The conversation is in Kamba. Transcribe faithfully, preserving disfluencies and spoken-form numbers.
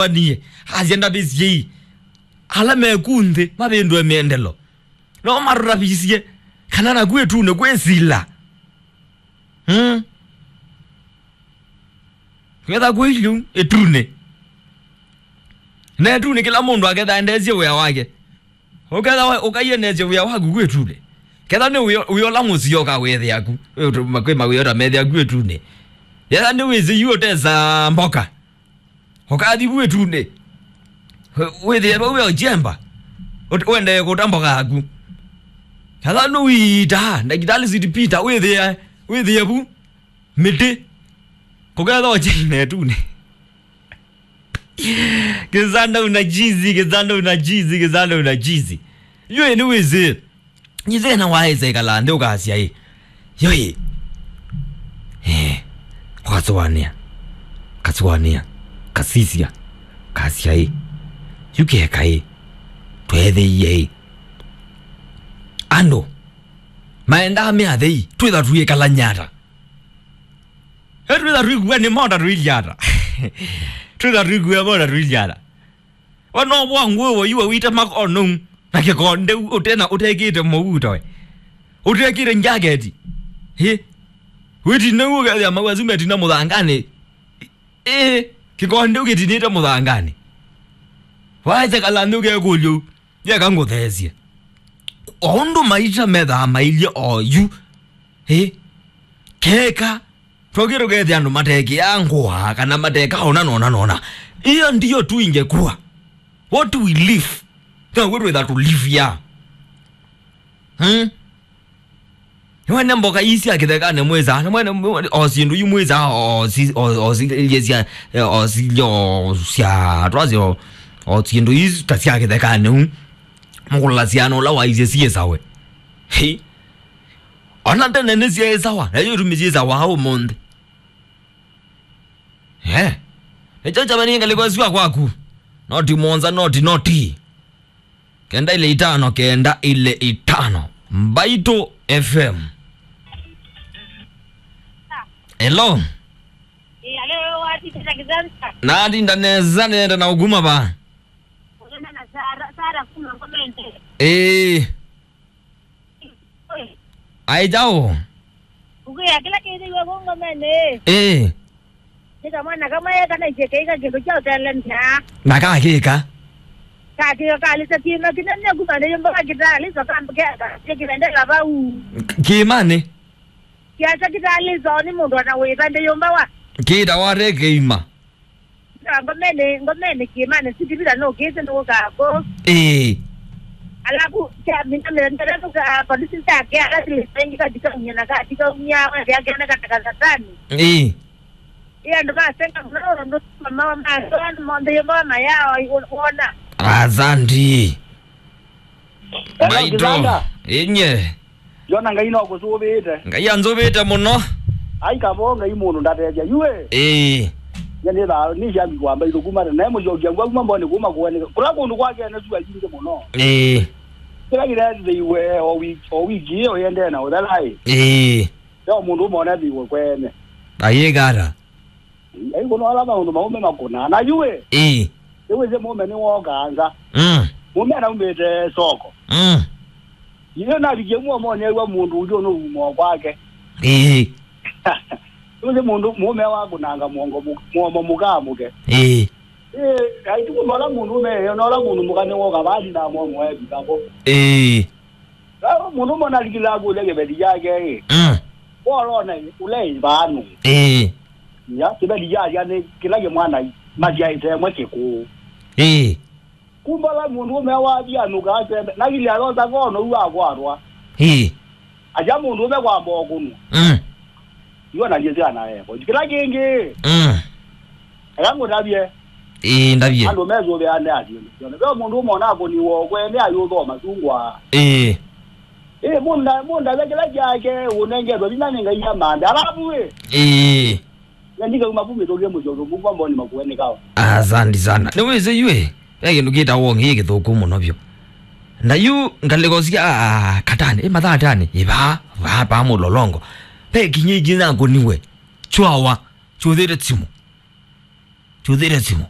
wanie, asya ndavĩsyei. Ala meku nthĩ, mavĩndũe mĩendelo. No matũtavisye, kana naku ĩtunĩ kwĩ sila. Hmm? Ketha kwĩ ilyu, ĩtunĩ. Na ĩtunĩ kĩla mũndũ aketha endeesye wĩa wake. Ũketha we-, ũkaiendeesye wĩa waku kwĩ ĩtunĩ. Ketha nĩ wĩa, wĩa ũla mũsio ũkawĩthĩa ku. Kwĩ mawĩa ũtamethĩa ku ĩtunĩ. Yetha nĩ wĩsĩ yu ũtesa mboka. Ũkathi vu ĩtunĩ. Wĩ-, wĩthĩe vau ve ũjemba. Ũt-, ũendee kũta mboka yaku. Katha nũiita, ndagĩtalĩ Sweet Peter, wĩthĩe, wĩthĩe vu. Mĩtĩ. Kũketha ũjina ĩtunĩ. Kĩsanda una jizi, kĩsanda una jizi, kĩsanda una jizi. Yũĩ nĩ wĩsĩ. Nyithĩna waĩsa ĩkala nthĩ ũkasya ĩ. Yo ĩ. Eh. Ũkasũanĩa. Kasũanĩa. Kasisya. Kasya ĩ. Yu keka ĩ. Tweethĩie ĩ. Andũ. Maendaa me athei. Twĩtha tũikalany'a ata. Ĩ twĩtha tũikua nĩ mota tũilya ata. Twĩtha tũikua mota tũilya ata. Wano bwa ngũĩ wa iwe wĩte makono na kĩkonde ũtena ũtekĩte mũuto we. Ũtekĩte njaketi. Hĩ? Wĩtine ũkethĩa mau asu metina mũthanganĩ. Ĩ, kĩkonde ũkĩtinĩte mũthanganĩ. Waĩte kala nthĩ ũkekũlyo. Yeka ngũtheesye. O ũndũ maisha methaa mailye oyu. Ĩ? Keka. Twakie tũkethĩa andũ matekĩaa ngũa kana mateka ona nona nona. Hiyo ndiyo tu ingekuwa. What do we live? Now'o twĩtha tũlivia. Hmm? Nĩwene mboka ii sya kĩthekanĩ mwĩsaa, nĩmwene mwe-, o syĩndũ yu mwĩsaa, o si-, o, o silye sya, o silye o sya, twasye o, o syĩndũ ii ta sya kĩthekanĩ u. Mũkũlasya na ũla waisye syĩsawe. Hi. Ona tene nĩsyeĩsawa, na yu tumi syĩsawa ũmũnthĩ. Eh. Nĩkyo kyavenie ngalĩko ĩsu ya kwaku. Noti mũonza, noti, noti. Kenda ile itano, kenda ile itano. Mbaitũ F M. Hello. Ĩ, alo, watindĩte kĩsasa? Natinda nesa, nenda na ũkuma va? Ũnena na Sara, Sara kuma Ngomende. Ĩĩ. Oi. Ai, chao. Ũkwĩa kĩla kĩthĩiwe kũngomene. Ĩĩ. Nĩ kamwana kamwe kanaisye keika kĩndũ kya ũtelemya. Na kakĩka. Kakĩka kalĩsa kĩma kĩnene kuma nĩ yũmba wa kĩtalĩso kambĩkeka kĩvendela vau. Kĩmanĩ? Kĩasa kĩtalĩso nĩ mũndũ ana wĩva ndĩ yũmba wa. Kĩta wate kĩima. Na ngomene, ngomene kĩmanĩ, sitivila nũkĩte nũkako. Ĩĩ. Alafu, kya mina mĩendele nũka, polisi syake, ala silipengĩ katika unyana, katika unya, wende akenda kataka satani. Ĩĩ. Ĩ andũ masenga mũno, ũndũ mama wa maso, andũ monthe yo mama yao, wona. Asante. Hello, Maito. Kizanga. Inye. Yona Ngai no kũsũvĩte. Ngai anzũvĩte mũno. Ai kavo Ngai mũndũ ndatethya. Yue. Ĩĩ. Nye nĩ thaa, nĩ shabiki wa Mbaitũ kuma tene. Naye mũcokia ngwa kuma mboni kuma kũene. Kũla kũndũ kwake ene sua yingĩ mũno. Ĩĩ. Kĩla kĩrethĩiwe o wiki, o wiki ĩyo yendee na ũthela ĩ. Ĩĩ. Yo mũndũ ũmwe ũnethĩiwe kwene. Ayĩkata. Ai kũno ala maũndũ maũme makũnaa. Na yue. Ĩĩ. Nĩwĩsĩ mũme nĩwokaa nza. Mm. Mũme anaumĩte soko. Mm. Yĩyo navikie muomonĩ aiwa mũndũ ũngĩ ũnũuma kwake. Ĩĩ. Nĩwĩsĩ mũndũ mũme wakũnanga mũongo mũ-, mũomo mũkaa mũke. Ĩĩ. Ĩĩ, aituku nola mũndũ ũme, nola mũndũ mũka nĩwoka vali na mũomo evikavo. Ĩĩ. Vau mũndũ mona alikile akũlya kĩveti kyake ĩ. Mm. Wolona ũle ĩvanu. Ĩĩ. Ya, kĩveti kyasya nĩ kĩla kĩmwana masyaĩte ĩmwe kĩkũũ. Ĩĩ. Kumbala mũndũ ũme wavia nũka asembe. Na kĩlya yosa kono yu akwatwa. Ĩĩ. Aja mũndũ ũme kwamba ũkũnwa. Mm. Iwe na ndiye syana eko. Kĩla kĩngĩ. Mm. Eka ngũtavye. Ĩĩ, ndavye. Andũ mesũvĩane asyĩndũ syone. Ve mũndũ ũmwe onakũniwa ũkwene ayũthoma sungwa. Ĩĩ. Ĩĩ, mũnda, mũndavye kĩla kyake ũnengetwe vinya nĩ Ngai amanthe. Alafu ĩ. Ĩĩ. Na ndikauma vu mĩtũkĩ mũsyoke mũkwa mboni makuenĩkao. Asante sana. Nĩwĩsĩ yu ĩ, ve kĩndũ kĩtawa ũngĩ kĩthũku mũno vyũ. Na yu ngalĩko sya, ah, katani, ĩ mathaa atani, ĩ vaa, vaa, vaa mũlolongo. Ve kinya ingĩ nakũniwe. Chwawa, chũthĩte simu. Chũthĩte simu.